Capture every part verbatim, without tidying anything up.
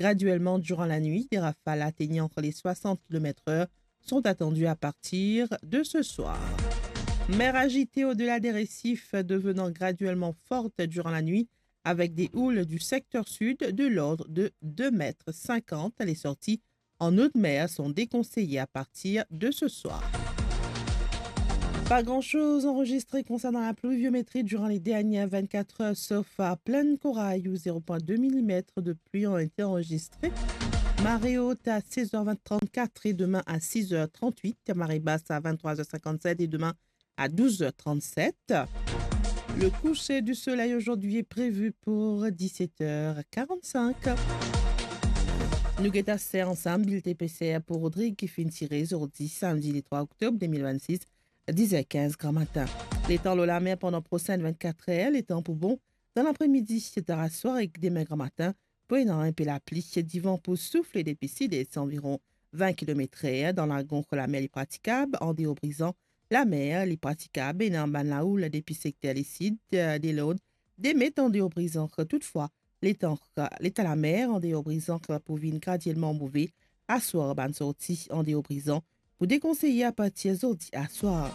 graduellement durant la nuit. Des rafales atteignant les soixante kilomètres heure sont attendues à partir de ce soir. Mer agitée au-delà des récifs, devenant graduellement forte durant la nuit, avec des houles du secteur sud de l'ordre de deux mètres cinquante. Les sorties en eau de mer sont déconseillées à partir de ce soir. Pas grand-chose enregistré concernant la pluviométrie durant les dernières vingt-quatre heures, sauf à Plaine Corail, où zéro point deux millimètres de pluie ont été enregistrés. Marée haute à seize heures vingt, trente-quatre et demain à six heures trente-huit. Marée basse à vingt-trois heures cinquante-sept et demain à douze heures trente-sept. Le coucher du soleil aujourd'hui est prévu pour dix-sept heures quarante-cinq. Nou get aster ansam bilten peser pou Rodrig ki finn tire zordi, samdi le trois octobre deux mille vingt-six, dix heures quinze grand matin. Letan lor lamer pandan prosin vingt-quatre heures, letan pou bon dan lapremidi, dan laswar ek demin gran matin, pou ena inpe lapli. Divan pou soufle depi sid-est anviron vingt kilomètres heure. Dan Lagon, lamer li pratikab, andeor Brizan, lamer li pratikab, ena bann laoul depi sekter lesid, eh, de Lord, de met andeor Brizan. Toutfwa, letan, leta lamer andeor Brizan pou vinn gradielman move. Aswar, bann sorti andeor Brizan pou dekonseye apartir zordi aswar.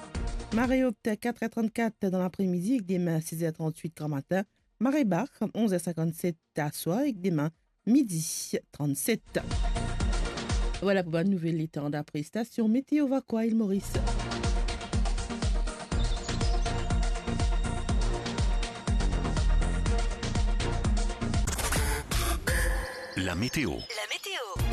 Mare ot, quatre heures trente-quatre dan lapremidi ek demin, six heures trente-huit gran matin. Mare ba, onze heures cinquante-sept aswar ek demin, midi trente-sept. Vwala pou bann nouvel letan dapre stasion Meteo Vakoa Ile Moris. La météo. La météo.